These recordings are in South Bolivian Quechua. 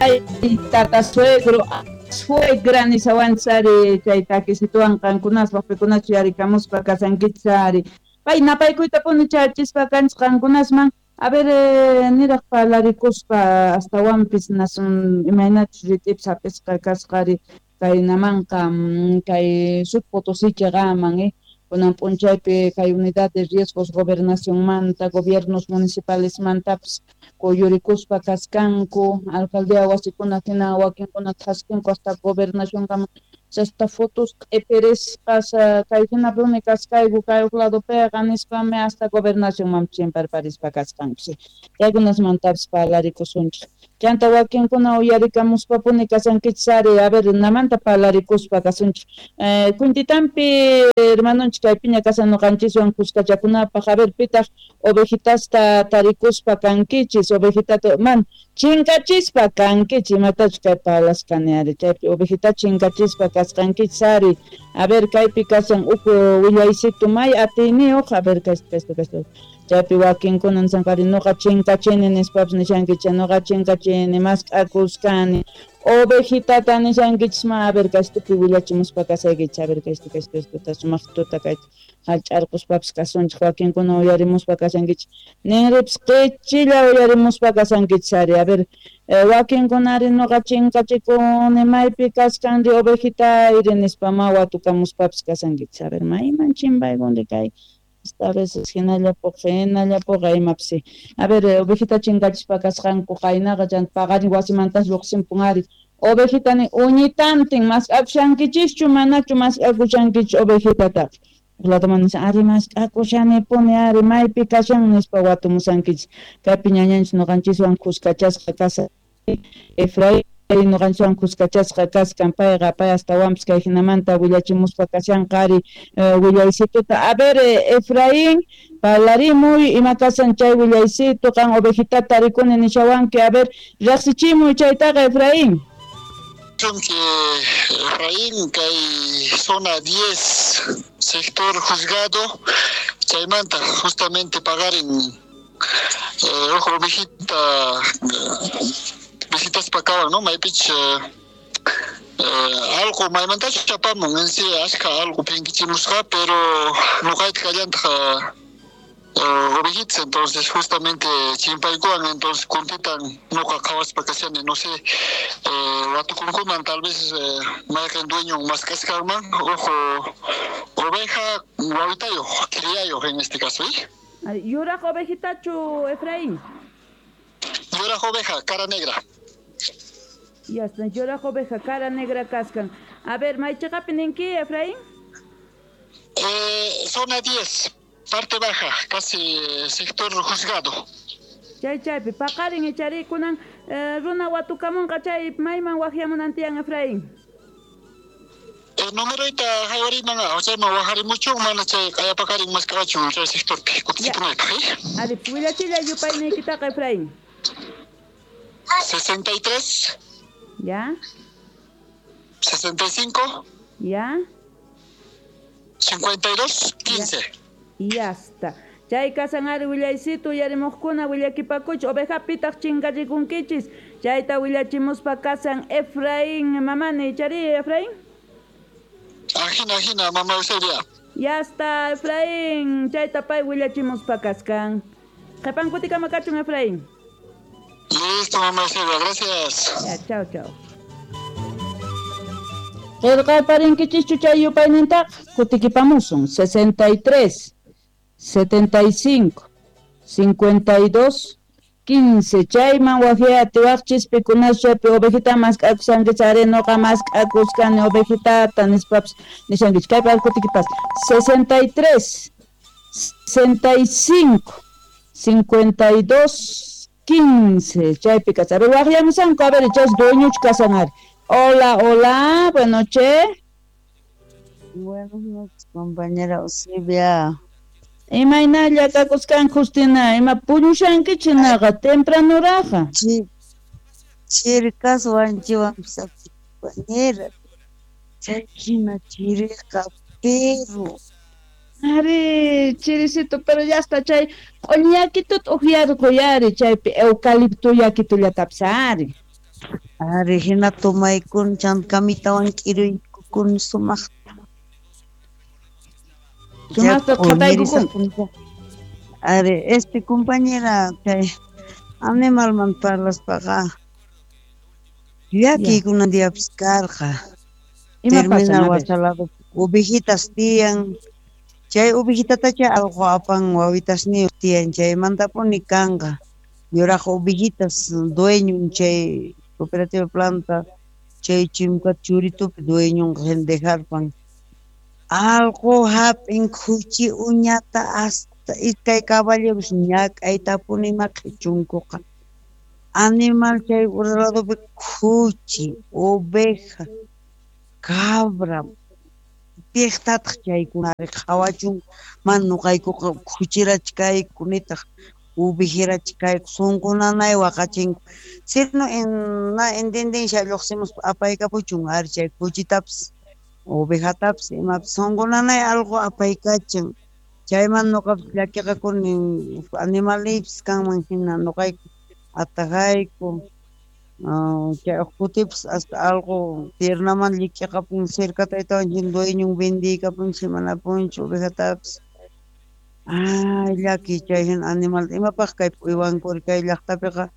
Ay, tata suegro, suegra nishawanchari chay takisituwan qankunaspa pikunachu yarikamuspa kasankichari. Pay napaykuytapuni chachispa kanchis qankunasman. A ver, niraj parlarikuspa astawanpis nasun imaynachus rit'ipis hap'isqa kasqari kaynamanqa kay Sud Potosí chiqaman kunan p'unchaypi kay unidad de riesgos gobernacionmanta gobiernos municipalesmantapis kuyurikuspa kaskanku alcaldía wasikuna hina wakinkuna thaskinku hasta gobernacionkama chasta fotos q'ipirisqas kay hinapuni kaskayku kay huk ladopiqa nispami hasta gobernacionman chimparparispa kasqanku chaykunasmantapis parlarikusunchik. Chanta wakinkuna uyarikamuspapuni kasankichis ari, a ver, namanta parlarikuspa kasunchik. Kuntitampi hermanonchik kaypiña kasan noqanchiswan kuskachakunapaq, a ver, pitaq ovejitasta tarikuspa kankichis, ovejitata man chinkachispa kankichis, imatachus kay parlaskani ari, chaypi ovejita chinkachispa kasqankichis ari. A ver, kaypi kasan uk willaysitu may atiyniyuq, a ver, kaysto. Chaypi wakinkuna nisanqari noqa chinkachini nispapis nishankichis, noqa chinkachini mask'akuskani ovejitata nishankichis ma, a ver, kaystupi willachimuspa kasaykichis, a ver, kaysto sumaq tuta kay hallch'arquspapis kasunchik, wakinkuna uyarimuspa kasankichis, ninripis qichilla uyarimuspa kasankichis ari, a ver, wakinkunari noqa chinkachikuni maypi kaskanri ovejitayri nispa ma watukamuspapis kasankichis, a ver, mayman chimpaykunri kay a veces hinallapuqa imapis. A ver, ovejita chinkachispa kasqanku qaynaqa chanta paqarin wasimantas lluqsinpun ari. Ovejitani uñitantin mask'akushankichischu manachu mask'akushankichis ovejitataqa. Uqlataman nishan ari mask'akushanipuni ari maypi kashan nispa watumusankichis. Kaypi ñañanchis noqanchiswan kuskachasqa kashan Efraín noqanchiswan kuskachasqa kaskan payqa pay astawanpis kay hinamanta willachimuspa kashanqa ari willaysituta. A ver, Efraín, parlarimuy ima kasan chay willaysitu qan ovejitata tarikuni nishawanki, a ver, riqsichimuy chaytaqa Efraín. Que Efraín kay zona 10 sector juzgado chaymanta justamente pagarin ojo ovejita visitas pakawan, ¿no? Maypich algo maymantachu chapamun en sí ashka algo pinkichimusqa, pero noqayta kallantaq ovejitas, entonces justamente chimpaykuwan, entonces kuntitan noqa qhawaspa kashani, no sé, watukunkuman tal vez mayqin dueño mask'asqanman ojo oveja wawitayuq criayuq en este caso, ¿eh? Yuraq ovejitachu, Efraín? Yuraq oveja, cara negra. Ya está, yuraq oveja, cara negra kaskan. A ver, maychiqapi ninki, Efraín? Zona 10, parte baja, casi sector juzgado. Chay chaypi, paqarin icharikunan runa watukamunqa chay mayman waqyamunantiyan, Efraín? Numeroyta haywariman, chayman waqarimuchun, mana chay q'ayapaqarin mask'awachun chay sectorpi kutichipunaypaq, eh? Ari, willachilla yupayniykitaqa, Efraín. 63. Ya. 65. Ya. 52, 15. Ya está. Chay kasan ari willaysitu uyarimuqkuna willakipakuch ovejapitaq chinkachikunkichis. Chayta willachimuspa kasan Efraín mamani, chari Efraín? Ajina, mamá Eusebia. Ya está, Efraín. Chayta pay willachimuspa kaskan. Qhipankutikama kachun, Efraín. Listo, mamá Eusebia, gracias. Ya, chao, chao. Qillqaparinkichikchu chay yupaynintaqa kutikipamusun 63, 75, 52, 15. Chayman waqyatiwaqchis pikunas chaypi ovejita mask'akushankichis ari noqa mask'akuskani ovejitata nispapis nishankichis. Kaypi kutikipas 63, 65, 52, 15. Chaypi kas. A ver, waqyamusanku, a ver, chas dueñochu kasan ari. Hola, hola, buenas noches. Buenas noches, compañera Eusebia. Imaynalla kakuskan Justina, ima puñushankichinaqa tempranuraqa. Chirkas wanchiwan compañera. Chayhina chiriqa, pero Ari, chirisito, pero ya está chay q'uñakituta uqyarquyari chaypi eucalipto yakitullatapis ari. Ari hina tomaykun chanta kamitawan k'iruykukun sumaqta. Sumaqta qhataykukun. Ari, compañera, chay animalman parlaspaqa llakiykunan diapis karqa. Terminal wasalado ovejitas tiyan. Chay ovejitatacha alqo apan wawitasniyuq tiyan, chaymantapuni kanqa. Yuraq ovejitas dueñon chay cooperativa planta, chay chimka churitupi dueñonqa dejarpan. Alqo hap'in khuchi uñata hasta iskay caballeros ñak'aytapuni maqhichunkuqa. Animal chay ladopi khuchi, oveja, cabra, piqtataq chaykunari qhawachunku, mana nuqaykuqa khuchirachi kayku nitaq ovejerachi kayku, sunqu nanay waqachinku. Sino na intendencia lluqsimuspa apaykapuchun ari chay khuchitapis ovejatapis imapis sunqu nanay alqu apaykachan. Chayman nuqapis llakiqakuni animalniypis kanman hina nuqayku atajayku. Chay uq kutipis hasta alqu piernaman llik'iqapun cercataytawan chin dueñon vendiykapunchik manapunchu ovejatapis. Ay, llaki chay hina animal imapaq kaypi uywankuri kay llaqtapiqa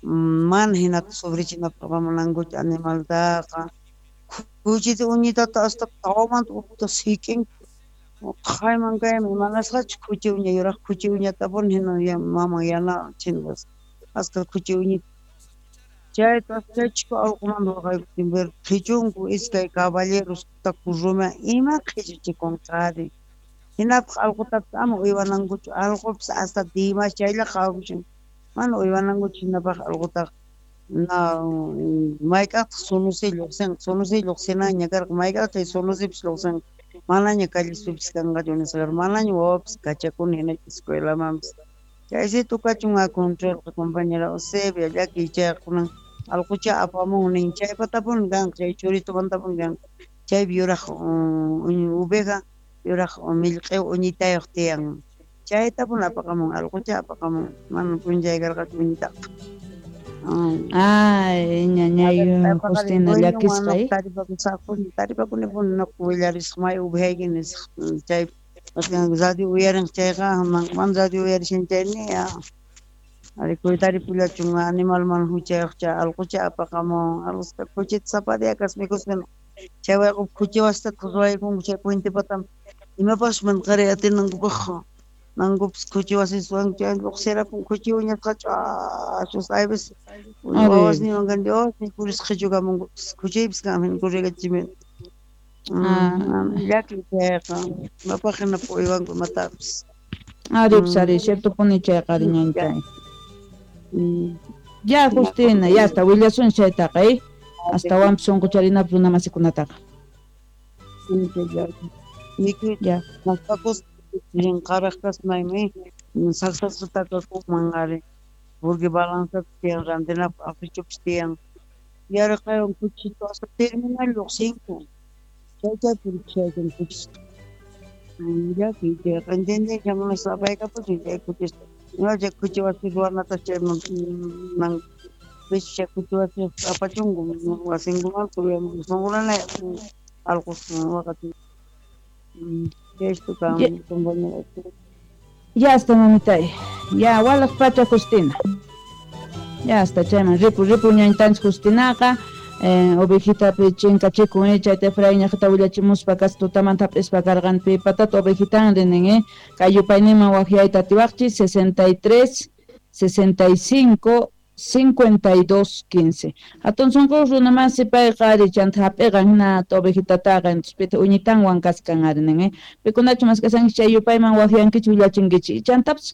mana hinata sufrichinapaq munankuchu animaltaqa. Khuchita uñitata hasta tawamanta uqta sik'inku. Qayman kayman imanasqachu khuchi uña yuraq khuchi uñatapuni hina maman yana chindas hasta khuchi uñita. Chayta chaychika allqumanta waqaykutin ver qhichunku iskay caballeros rumi ima qhichuchikunqari. Hinapaq allqutapis ama uywanankuchu, allqupis hasta dimas chaylla qhawakushan mana uywanankuchu hinapaq allqutaqa. Na mayk'aqtaq sunusi lluqsinqa, sunusi lluqsinanña karqa, mayk'aqtaq chay sunusipis lluqsinqa, manaña callespipis kanqachu nisqa, manaña wawapis kachakuni hina escuelamanpis. Chaysi tukachun a controlqa compañera Eusebia llakiy chayqa kunan allqucha apamun nin chaypatapuni kanqa, chay churitumantapuni kanqa, chaypi yuraq oveja yuraq millq'i uñitayuq tiyan, chaytapuni apaqamun allqucha apaqamun, mana p'unchay karqachu uñitaqa. Ay, ñañay Justina llakisqa. Taripakunipuni nuqa willarisaq may ovejayki nisaq chay radio uyarin chayqa mana radio uyarishan chay ni ari kuytaripullachun animal mana huchayuq chay allqucha apaqamun alqusqa khuchita sapa día kas mikuspa chay wayqu khuchi wasitataq ruwaykunku chay puente pataman imapaqchu mana qaray atinankupaq nankupis khuchi wasis ruwanku chay lluqsirapun khuchi uñasqa ch'achus hay veces wawasniywan kani Dios purisqa qhichukamunku khuchiypis kanman corregachimi. Llaki chayqa imapaq hina uywanku imatapis. Ari, ari, ciertopuni chayqa ari ñañtay. Ya, Justina, ya hasta willasun chaytaqa, Astawanpis sunqucharinapaq runa masikunataqa. Ya. Qaraq kasmaymi saksasqa takakunman ari porque balanzapis tiyan rantinapaq afichupis tiyan yarqaywan khuchito hasta terminal lluqsinku chay chaypuri khuchista. Llaki chayqa entendencia munaspa apaykapuchun chay khuchista chay khuchi wasi ruwanata chayman chay khuchi wasi apachunku wasinkuman sunqu nanay allqus waqachin. Esto kan compañera. Ya está, mamitay. Ya, walaq pacha Justina. Ya está, chayman ripu ripu ñañtanchik Justinaqa ovejitapi chinkachikun chayta Efraín ñaqta willachimuspa kas tutamanta hap'ispa karqan patata ovejitan rinin kay yupayninman waqyayta atiwaqchis 63 65 52 15. Hatun sunqu runamasi payqa ari chanta hap'iqan hina ovejitataqa entonces uñitanwan kaskan ari nin pikunachu mask'asankichik chay yupayman waqyankichik willachinkichik chantapis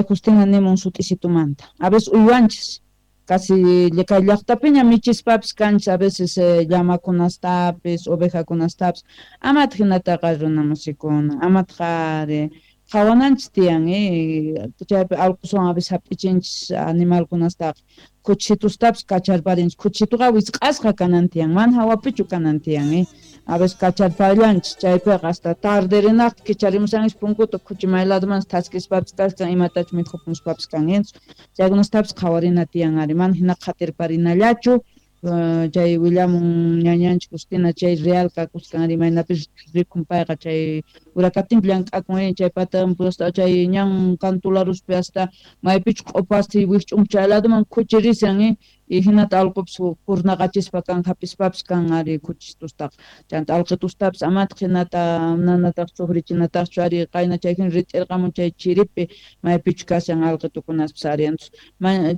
Justina nimun sut'isitumanta a veces uywanchis casi kay llaqtapiña michispapis kanchis a veces llamakunastapis ovejakunastapis amataq hinataqa runamasikuna amataq ari qhawananchis tiyan chaypi allquswan a veces hap'ichinchis animalkunastaqa khuchitustapis kacharparinchis khuchituqa wisq'asqa kanan tiyan mana hawapichu kanan tiyan a veces kacharparillanchis chaypiqa hasta tarde rinaqta kicharimushanchis punkuta khuchi may ladomansi thaskispapis kachkan imatachu mikhupuspapis kan chaykunastapis qhawarina tiyan ari mana hina qhatirparinallachu. Chay willamun ñañanchik Justina chay real kakuskan imaynapis rikun payqa chay urakaptinpi llank'akun chay patanpi hasta chay ñan kantularuspi hasta maypichu q'upasti wikch'unku chay laduman khuchi rishan y hinata allqupis kurnaqachispa kan hapispapis kan ari khuchistustaqa chanta allqitustapis amataq hinata nanataq sufrichinataqchu ari qayna chay hina rit'irqamun chay chiripi maypichu kashan allqitukunaspis ari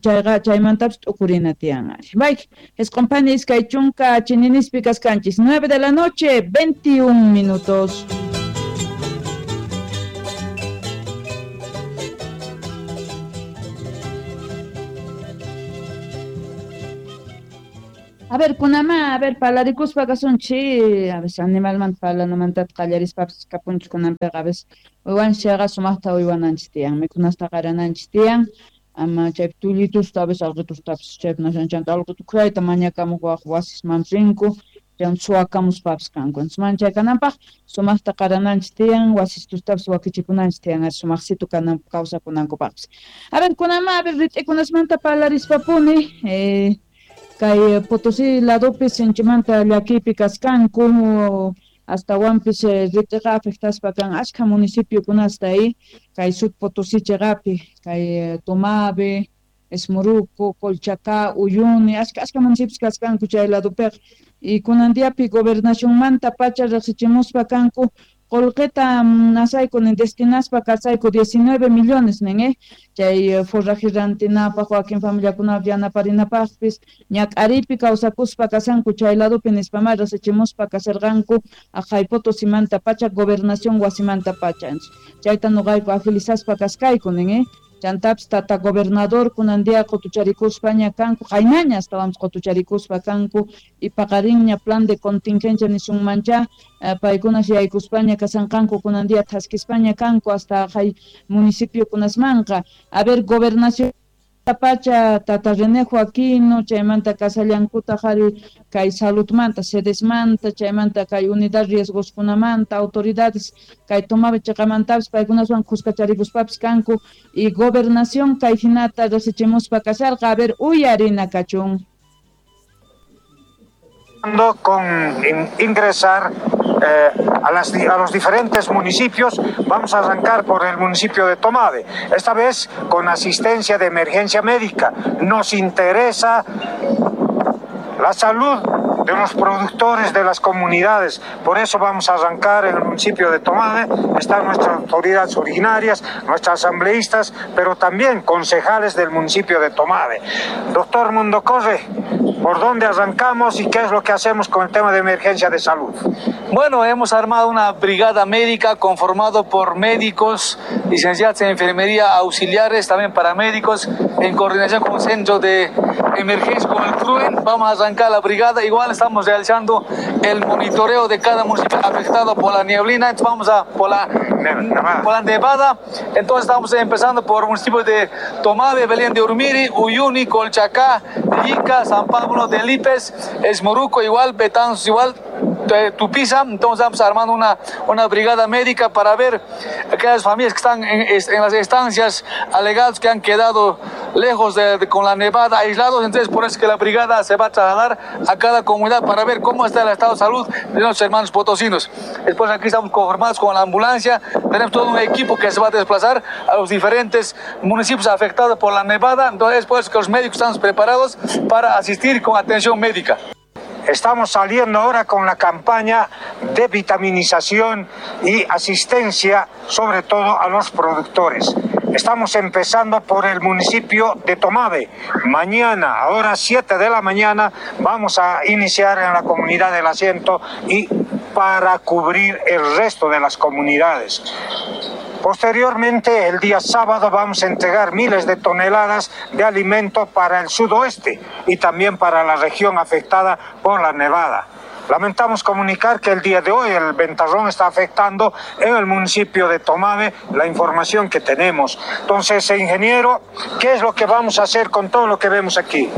chayqa chaymantapis t'ukurina tiyan ari. Bayki esqunphani iskay chunka chininispi kaskanchis 9 de la noche 21 minutos. A ver, kunama, a ver, palarikuspa kasunchi, a veces animalmanta parlanamantata qallarispapis kapunchik kunanpiqa, a veces uywanchikqa sumaqta uywananchik tiyan, mikhunasta qarananchik tiyan, ama chaypi tullitusta a veces allqitustapis chaypi nashanchanta allqitu khuyayta mañakamuq waq wasisman rinku, chaywan suwakamuspapis kanku. Entonces mana chay kananpaq sumaqta qarananchik tiyan, wasistustapis wakichikunanchik tiyan, sumaqsitu kananpaq kawsakunankupaqpis. A ver, kunama, a ver, rit'ikunasmanta parlarispapuni, kay Potosí ladopi sinchimanta llakipi kaskanku astawanpis rit'iqa afectaspa kan ashkha municipiokunasta kay Sud Potosí chiqapi kay Tomave, Esmoruco, Colchacá, Uyuni, ashka municipios kaskanku chay ladopiqa y kunan diapi gobernacionmanta pacha riqsichimuspa kanku qolqeta nasayku nin destinaspa kasayku 19 millones nin chay forraje rantinapaq wakin familiakunap yanaparinapaqpis ñak'aripi kawsakuspa kasanku chay ladopi nispamá riqsichimuspa kasarqanku aqhay Potosimanta pacha gobernación wasimanta pacha chayta nuqayku agilizaspa kaskayku nin chantapis tata gobernador kunan día qutucharikuspaña kanku qaynaña astawanpis qutucharikuspa kanku y paqarinña plan de contingencia nisunmancha paykunas yaykuspaña kasanqanku kunan día thaskispaña kanku hasta hay municipiokunasmanqa. A ver, gobernación pacha tata René Joaquino chaymanta kasallankuta qhari kay saludmanta sedesmanta chaymanta kay unidad riesgoskunamanta autoridades kay Tomave chiqamantapis paykunaswan khuskacharikuspapis kanku y gobernación kay hinata riqsichimuspa kasharqa. A ver, uyarina kachun. Con ingresar a los diferentes municipios. Vamos a arrancar por el municipio de Tomave, esta vez con asistencia de emergencia médica. Nos interesa la salud de los productores de las comunidades, por eso vamos a arrancar en el municipio de Tomave. Están nuestras autoridades originarias, nuestras asambleístas, pero también concejales del municipio de Tomave. Doctor Mundocorre, ¿por dónde arrancamos y qué es lo que hacemos con el tema de emergencia de salud? Bueno, hemos armado una brigada médica conformado por médicos, licenciados en enfermería, auxiliares, también paramédicos, en coordinación con el centro de emergencia, con el CRUEN. Vamos a arrancar la brigada. Igual estamos realizando el monitoreo de cada municipio afectado por la nieblina. Entonces vamos a por la nevada. Entonces estamos empezando por municipios de Tomave, Belén de Urmiri, Uyuni, Colchacá, Llica, San Pablo de Lipes, Esmoruco igual, Betanzos igual, Tupiza. Entonces estamos armando una brigada médica para ver aquellas familias que están en las estancias alegadas que han quedado lejos con la nevada, aislados. Entonces por eso es que la brigada se va a trasladar a cada comunidad para ver cómo está el estado de salud de nuestros hermanos potosinos. Después aquí estamos conformados con la ambulancia, tenemos todo un equipo que se va a desplazar a los diferentes municipios afectados por la nevada. Entonces por eso que los médicos estamos preparados para asistir con atención médica. Estamos saliendo ahora con la campaña de vitaminización y asistencia, sobre todo a los productores. Estamos empezando por el municipio de Tomave. Mañana, ahora 7 de la mañana, vamos a iniciar en la comunidad del Asiento y para cubrir el resto de las comunidades. Posteriormente, el día sábado, vamos a entregar miles de toneladas de alimento para el sudoeste y también para la región afectada por la nevada. Lamentamos comunicar que el día de hoy el ventarrón está afectando en el municipio de Tomave, la información que tenemos. Entonces, ingeniero, ¿qué es lo que vamos a hacer con todo lo que vemos aquí?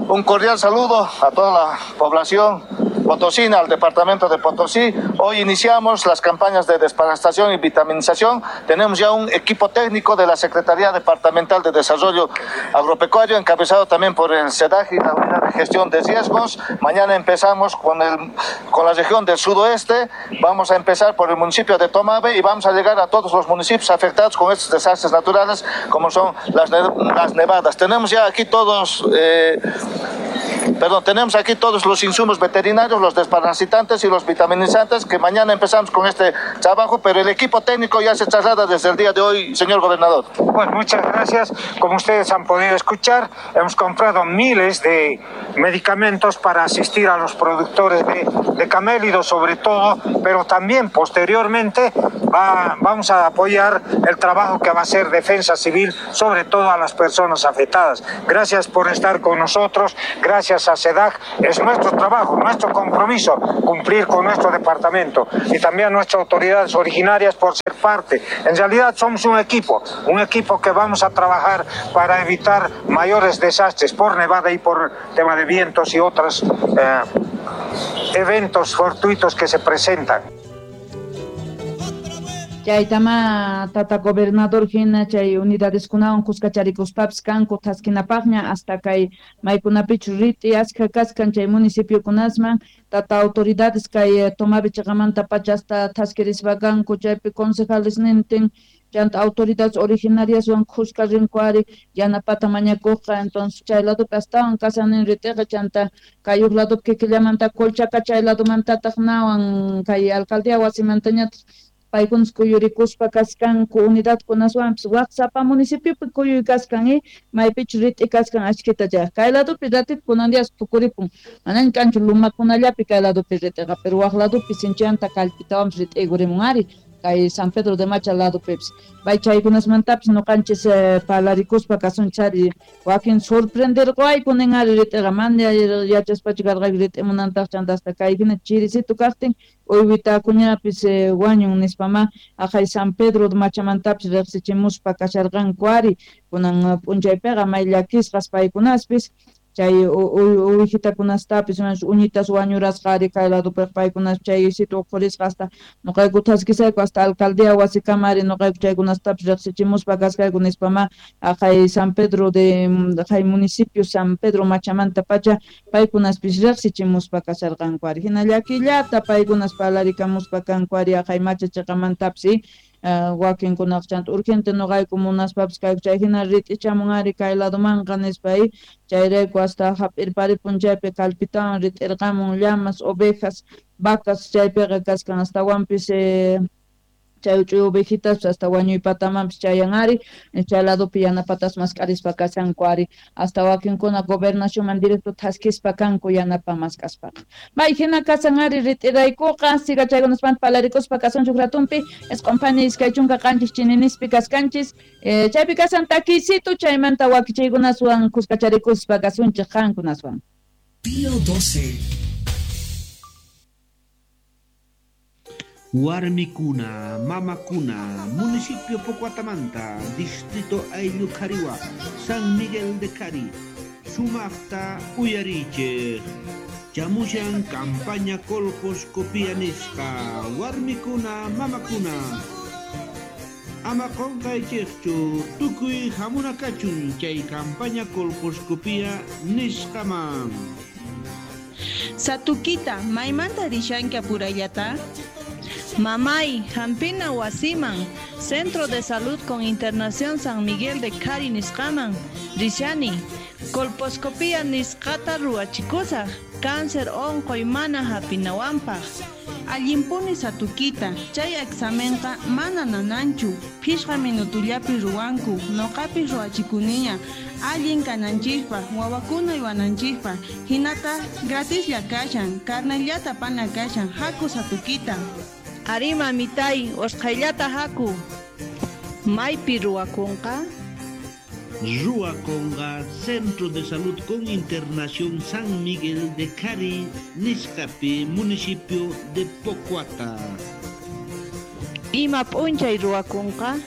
Un cordial saludo a toda la población Potosina, al departamento de Potosí. Hoy iniciamos las campañas de desparasitación y vitaminización. Tenemos ya un equipo técnico de la Secretaría Departamental de Desarrollo Agropecuario, encabezado también por el SEDAG y la Unidad de Gestión de Riesgos. Mañana empezamos con la región del sudoeste. Vamos a empezar por el municipio de Tomave y vamos a llegar a todos los municipios afectados con estos desastres naturales, como son las nevadas. Tenemos ya aquí todos... tenemos aquí todos los insumos veterinarios, los desparasitantes y los vitaminizantes, que mañana empezamos con este trabajo, pero el equipo técnico ya se traslada desde el día de hoy, señor gobernador. Bueno, muchas gracias. Como ustedes han podido escuchar, hemos comprado miles de medicamentos para asistir a los productores de camélidos sobre todo, pero también posteriormente vamos a apoyar el trabajo que va a hacer Defensa Civil, sobre todo a las personas afectadas. Gracias por estar con nosotros, gracias a SEDAG. Es nuestro trabajo, nuestro compromiso cumplir con nuestro departamento y también a nuestras autoridades originarias por ser parte. En realidad somos un equipo que vamos a trabajar para evitar mayores desastres por nevada y por tema de vientos y otros eventos fortuitos que se presentan. Chaytama tata gobernador hina chay unidadeskunawan kuskacharikuspapas kanku thaskinapaqña hasta kay maykunapichu rit'i askha kaskan chay municipiokunasman tata autoridades kay Tomave chiqamanta pacha hasta thaskirispa kanku chaypi concejales nintin chanta autoridades originariaswan khuska rinku ari yanapata mañakuqqa. Entonces chay ladopi astawan kasanin rit'iqa chanta kay uq ladopi kikillamanta Colchaca chay ladomantataq nawan kay alcaldía wasimantañataq paykunas kuyurikuspa kaskanku unidadkunaswanpis waq sapa municipiopi kuyuy kaskan maypichu rit'i kaskan achkita chay kay ladopi ratito kunan días tukuripun manaña kanchu lumakunallapi kay ladopi rit'iqa pero waq ladopi sinchanta kallpitawanpis rit'ikurimun ari kay San Pedro de Macha ladopipis bay chaykunasmantapis noqanchis palarikuspa kasunchari wakin sorprenderqayku nin ari rit'iqa mana yachaspachu karqayku rit'imunantaq chanta hasta kay hina chirisito kaqtin uywitakuñapis wañun nispama aqhay San Pedro de Machamantapis riqsichimuspa kasharqanku ari kunan p'unchaypiqa may llakisqas paykunaspis chay uwijitakunastapis uñitas wañurasqa ari kay ladopiqa paykunas chay sitio uqhurisqa hasta noqayku thaskisayku hasta alcaldía wasikama ari noqayku chaykunastapis riqsichimuspa kaskayku nispama aqhay San Pedro de aqhay municipio San Pedro Machamanta pacha paykunaspis riqsichimuspa kasharqanku ari hina llakillata paykunas parlarikamuspa kanku ari aqhay Macha chiqamantapis wakinkunaq chanta urgente noqayku munaspapis kayku chay hina rit'ichamun ari kay ladomanqa nispa chayrayku hasta hap'irparipun chaypi kallpitawan rit'irqamun llamas, ovejas, vacas chaypiqa kaskan hastawanpis chay uch'uy ovejitas hasta wañuypatamanpis chayan ari chay ladopi yanapatas mask'arispa kashanku ari hasta wakinkuna gobernacionman directo thaskispa kanku yanapa mask'aspaqa may hina kasan ari rit'iraykuqa siga chaykunaspanta palarikuspa kasunchuk ratunpi isq'unphani 27 chininispi kaskanchis chaypi kasan takisito chaymanta wakichaykunaswan kuskacharikuspa kasunchik qankunaswan. Pío 12. Warmikuna, Mamakuna, Municipio Pocuatamanta, Distrito Ayllucariwa, San Miguel de Cari, Sumaqta Uyariche, Chamushan campaña colposcopía nisqa, Warmikuna, Mamakuna, Ama qonqaychikchu, tukuy hamunakachun chay campaña colposcopía nisqaman. Satukita, maymanta rishanki apurayllata? Mamay, Hampina wasiman, Centro de Salud con Internación San Miguel de Cari nisqaman, rishani, colposcopía nisqata ruwachikusaq, cáncer onqoy mana hapinawanpaq. Allinpuni Satukita, chay examenqa mana nananchu, phishqa minutullapi ruwanku, noqapis ruwachikuniña, allin kananchikpaq, wawakuna yuwananchikpaq, hinata gratislla kashan, carnellata pana kashan, haku Satukita. Ari mamitay, usqhayllata haku. Maypi ruwakunqa? Ruwakunqa Centro de Salud con Internación San Miguel de Cari, nisqapi, municipio de Pocuata. Ima p'unchay ruwakunqa?